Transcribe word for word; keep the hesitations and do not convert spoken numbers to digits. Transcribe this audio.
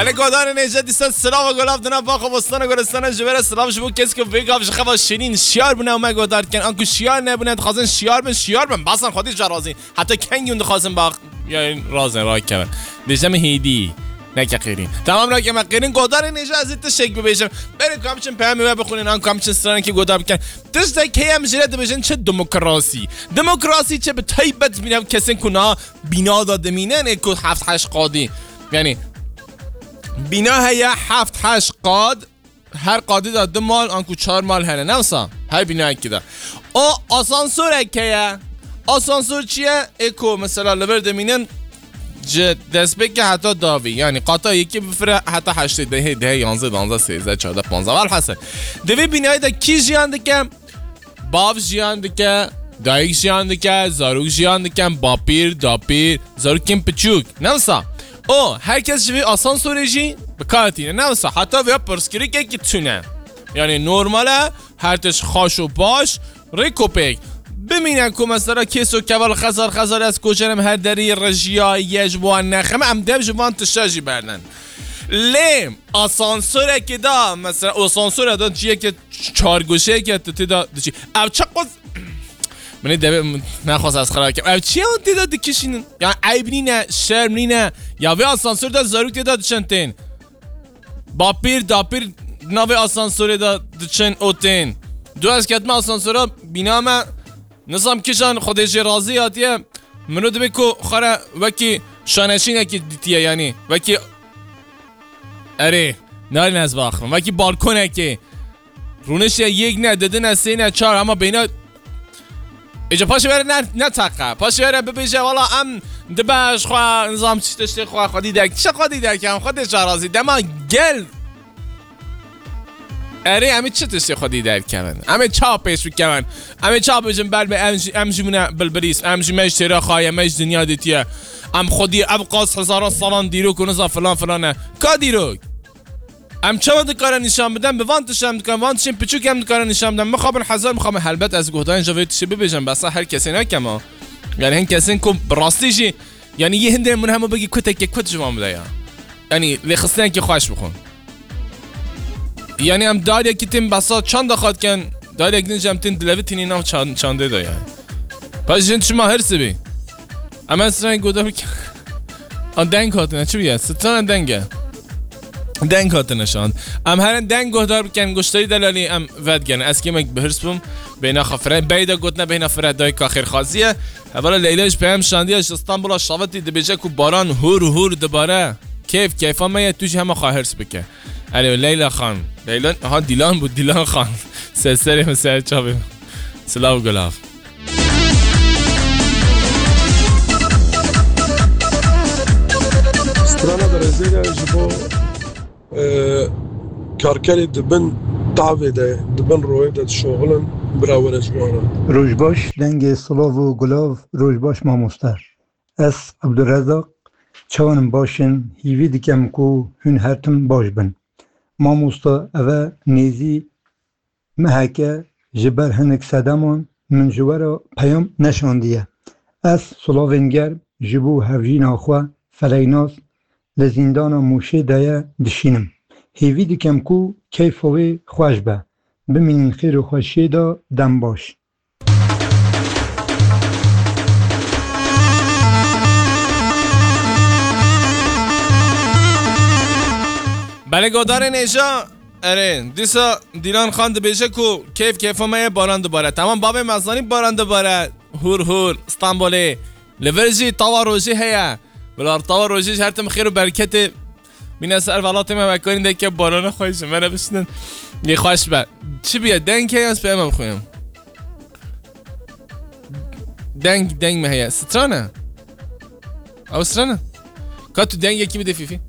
Hele godarên êce dîsa silav û golav dina bax û bostana golistana ji we re silav ji bo kes ku vê gav ji xewa şirîn şiyar bûne û me godar dikin. Anku şiyar nebûne, dixwazin şiyar bin, şiyar bin. Basan xwedî ji razî. Heta kengî hûn dixwazin bax. Yani razin rakeve. Dêje min hêdî. Neke qêrîn. Tamam, rake me qêrîn. Godarên êce ez ê tiştek bibêjim. Berê ku em çin peyamê we bixwînin, anku em çin stranekî godar bikin. Tiştek heye em jê re dibêjin çi demokrasî. Demokrasî çi bi taybet bîne kesên ku na bîna de dimînin ê ku heft heşt qadî. Yani bîna heye heft heşt qad, her qadî de du mal anku çar mal hene. Ne wisa? Her bînayekî de. O asansorek heye. Asansor çi ye? Ê ku mesela li vir dimînin ji destpêkê heta davî. Yani qata yekê bifire heta heştê, dehê, dehê, yanzê, danzê, sêzdeh, çardeh, panzdeh. Welhasil. Di vê bînayê de kî jiyan dike? Bav jiyan dike, dayik jiyan dike, zarok jiyan dikin, bapîr, dapîr, zarokên piçûk. Ne wisa? O, her kes ji vê asansorê jî bi kar tîne. Ne wisa? Heta vêya pirsgirêkekî tune. Yani normal e, her tişt xaş û baş, rêk û pêk. Bimîne ku mesela kês û keval xezar xezar ez koçerim her derî rejiya ye ji bo wan nexeme, em dev ji van tişta jî berdin. Lê asansorekê de, mesela asansora de ciyekê çar goşeyeke tu tê de diçî. Ev çi quz-, Min ê devê min nexwest ez xira kim. Ev çi ye hûn tê de dikişînin? Ya eyb nîne, şerm nîne? Ya vê asansor de zarok tê de diçin tên. Bapîr, dapîr navê asansorê de diçin û tên. Du ez ketime asansora bîna me, nizam kîjan Xwedê jê razî hatiye. Miro dibê ku xwe re wekî şaneşînekî dîtiye, yanî wekî, erê, narin ez baxivim. Wekî balkonekê. Rûniştiye yek ne, didine, sê ne, çar, ama beyna. Êca paşê were ne, ne teqe. Paşê were bibêje, wala em dibe ji xwe, nizam çi tiştê xwe, xwedî derk. Çi xwedî derk, em xwedê şarazî. Dema gel. Erê, em ê çi tiştê xwedî derkevin? Em ê ça pêş bikevin? Em ê ça bêjin, ber be, em jî, em jî bûne bilbirîs, em jî me ji têra xaye, me ji dinya dîtiye. Em xwedî ev qas hezaran salan dîrok û niza filan filan e. Ka dîrok? Em çawa dikare nîşan bidin? Bi van tişt em dikarin, van tiştên piçûk em dikarin nîşan bidin. Mixabin hezar mixabin. Helbet ez guhdarên ji vê tiştê bibêjim, besa her kesê nekem ha. Yani hin kesên ku bi rastî jî, yani yê hindê min hema bigî kutekê kut ji van bide ya. Yani lêxistinekî xweş bixwin. Yani em daryekî tên besa çanda xwe dikin, daryek din jî em tên dilevitînî nav çan-, çandê de yani. Paş jin çima hirs bî? Em ez stranê guhdar bikin. An deng hatine, çi bûye? Strana deng e. Deng hatine şand. Em herin deng guhdar bikin, goştarî delalî em vedgerin. Ez kêmek bi hirs bûm. Bêhna xwe fire. Beyda gotine bêhna fire dayika xêrxwazî ye. Hevala Leyla ji peyam şandiye ji Stenbola şavitî dibêje ku baran hûr hûr dibare. Keyf keyfa me ye, tu jî hema xwe hirs bike. Alo, Leyla Xan. Leyla, ha, Dîlan bû, Dîlan Xan. Ser serê min, ser çavê min. Silav û gulav. Strana berêzê de ji bo, e, karkerê di bin tavê de, di bin royê de dişoxilin, bira were ji wan re. Roj baş, dengê silav û gulav, roj baş mamoste. Ez Abdurrezzaq, çawan in, baş in, hîvî dikem ku hûn her tim baş bin. Mamoste, eve nêzî meheke ji ber hinek sedeman min ji we re peyam neşandiye. Ez silavên germ ji bo hevjîna xwe Feleynas li zîndana Mûşê de ye dişînim. Hêvî dikem ku keyfa wê xweş be. Bimînin xêr û xweşiyê de, dem baş. Belê godarên êja, erê, dîsa Dîlan Xan dibêje ku keyf keyfa me ye, baran dibare. Tamam, bavê me zanî baran dibare. Hûr hûr, Stenbolê. Li vir jî tawa rojê heye. Bila tawa rojê ji her tim xêr û bereketê bîne ser welatê me, me karîn deke barana xwe ji me re bişinin. Lê xweş be. Çi bûye? Deng heye, ez peyama bixwînim. Deng, deng mi heye? Strana? Ew strana? Ka tu dengekî bidê fîfî.